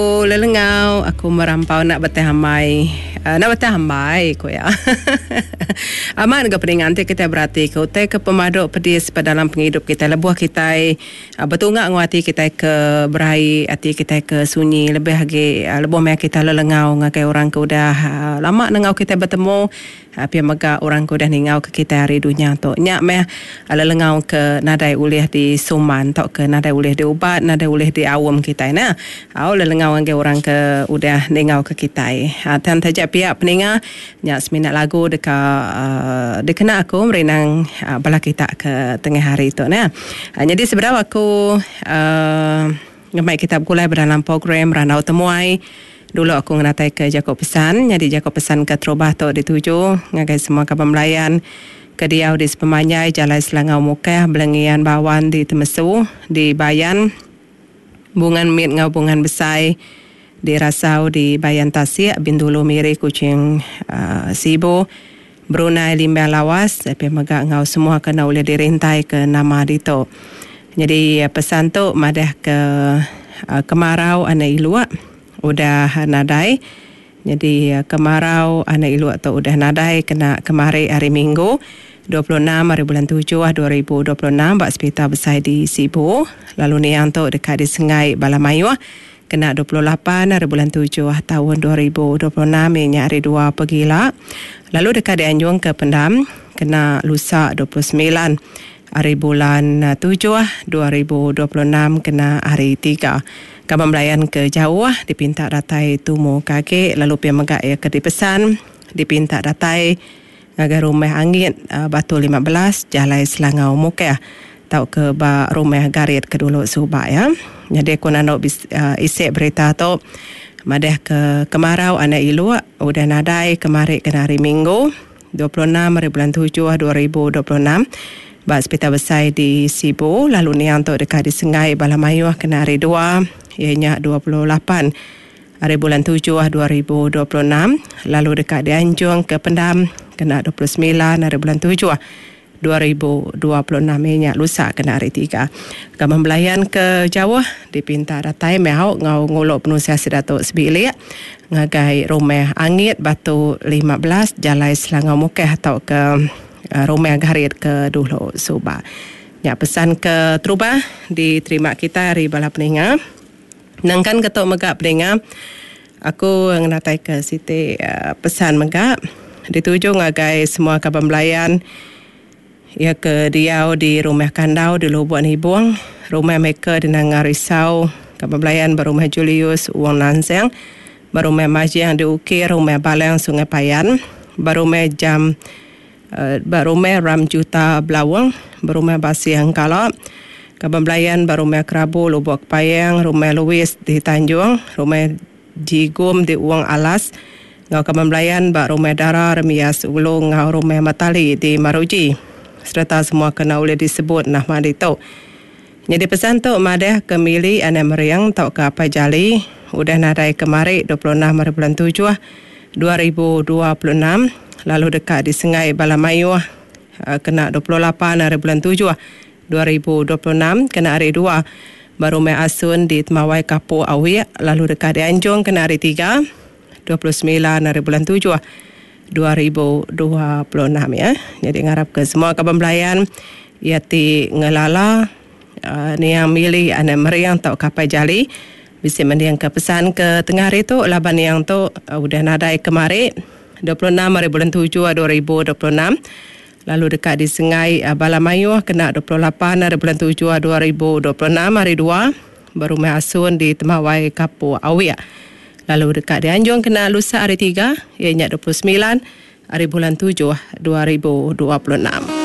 Lelengau aku merampau enda betih ambai enda betih ambai ku iya. Amat ga peninga enti kitai beratika utai ke pemadu pedis ba dalam pengidup kitai lebuh kitai betunga enggau ati kitai ke beraie ati kitai ke sunyi lebih agi lebuh maya kitai lelengau ngagai orang ke udah lama nengau kitai betemu. Pia mega orang ke udah ningauka kitai ari dunya tu. Nya meh lelengau ke nadai ulih disuman tauka nadai ulih diubat, nadai ulih diaum kitai neh. Au lelengau ngagai orang ke udah ningauka kitai. Tang taja pia peninga nya semina lagu deka dikena aku merindang bala kita ke tengah hari tu neh. Nyadi sebedau aku uhh Ngemai kita begulai ba dalam program Randau Temuai. Dulu aku ngenataika jaku pesan. Nyadi jaku pesan keterubah tu dituju ngagai semua kaban belayan ke diau di sepemanjai Jalai Selangau Mukah, Belengian Bawan di Temesu, di Bayan, Bungan Mit enggau Bungan Besai, di Rasau, di Bayan Tasik, Bintulu, Miri, Kuching, Sibu, Brunei, Limbang Lawas, pia mega enggau semua ke enda ulih dirintaika nama ditu. Nyadi pesan tu madahka kemarau anak iluk udah nadai. Nyadi kemarau anak iluk tu udah nadai kena kemari hari Minggu 26 hari bulan tujuh 2026 ba Sepital Besai di Sibu lalu niang tu deka disengai bala mayuh Kena 28 ari bulan tujuh taun 2026 iya nya hari dua pegila lalu deka dianjung ke pendam kena lusa 29 ari bulan tujuh 2026 kena hari tiga. Kaban belayan ke jauh dipinta datai tumu ke agi lalu pia mega iya ke dipesan dipinta datai ngagai Rumah Angit Batu 15 Jalai Selangau Mukah tauka ba Rumah Garit ke dulu suba iya. Nyadi aku nandu isi berita tu madah ke kemarau anak iluk udah nadai kemari kena hari Minggu 26 hari bulan tujuh 2026 ba Sepital Besai di Sibu lalu niang tu deka disengai bala mayuh kena hari dua iya nya 28 Ari bulan tujuh 2026 lalu deka dianjung ke pendam kena 29 ari bulan tujuh 2026 iya nya lusa kena hari tiga. Kaban belayan ke jauh dipinta datai meh au enggau ngulu penusah sida tu sebilik ngagai Rumah Angit Batu 15 Jalai Selangau Mukah tauka Rumah Garit ke dulu suba. Nya pesan ke terubah diterima kitai ari bala peninga. Nangkan ke tu mega peninga, aku ngenataika siti pesan mega dituju ngagai semua kaban belayan iya ke diau di Rumah Kandau di Lubok Nibong, Rumah Maker di Nanga Risau, kaban belayan ba Rumah Julius Wong Nanseng, ba Rumah Majing di Ukir, Rumah Balang Sungai Payan, ba Rumah Jam Ba Rumah Ram Juta Belawong, ba Rumah Basih Engkala, Kaban Belayan ba Rumah Kerabu Lubok Kepayang, Rumah Louis di Tanjung, Rumah Jigum di Wong Alas enggau Kaban Belayan ba Rumah Dara Remias Ulu enggau Rumah Matali di Maruji sereta semua ke enda ulih disebut nama ditu. Nyadi pesan tu madah ke Mili anak Mering tauka Apai Jali udah nadai kemari 26 hari bulan tujuh 2026 lalu deka disengai bala mayuh kena 28 hari bulan tujuh 2026 kena hari dua ba Rumah Asun di Temawai Kapuk Awik lalu deka dianjung kena hari tiga 29 hari bulan tujuh 2026 ya. Nyadi ngarapka semua kaban belayan iya ti ngelala niang Mili anak Mering tauka Apai Jali bisi mendingka pesan ke tengah hari tu laban niang tu udah nadai kemari 26 hari bulan tujuh 2026 lalu deka disengai bala mayuh kena 28 hari bulan tujuh 2026 hari dua ba Rumah Asun di Temawai Kapuk Awik lalu deka dianjung kena lusa hari tiga iya nya 29 hari bulan tujuh 2026.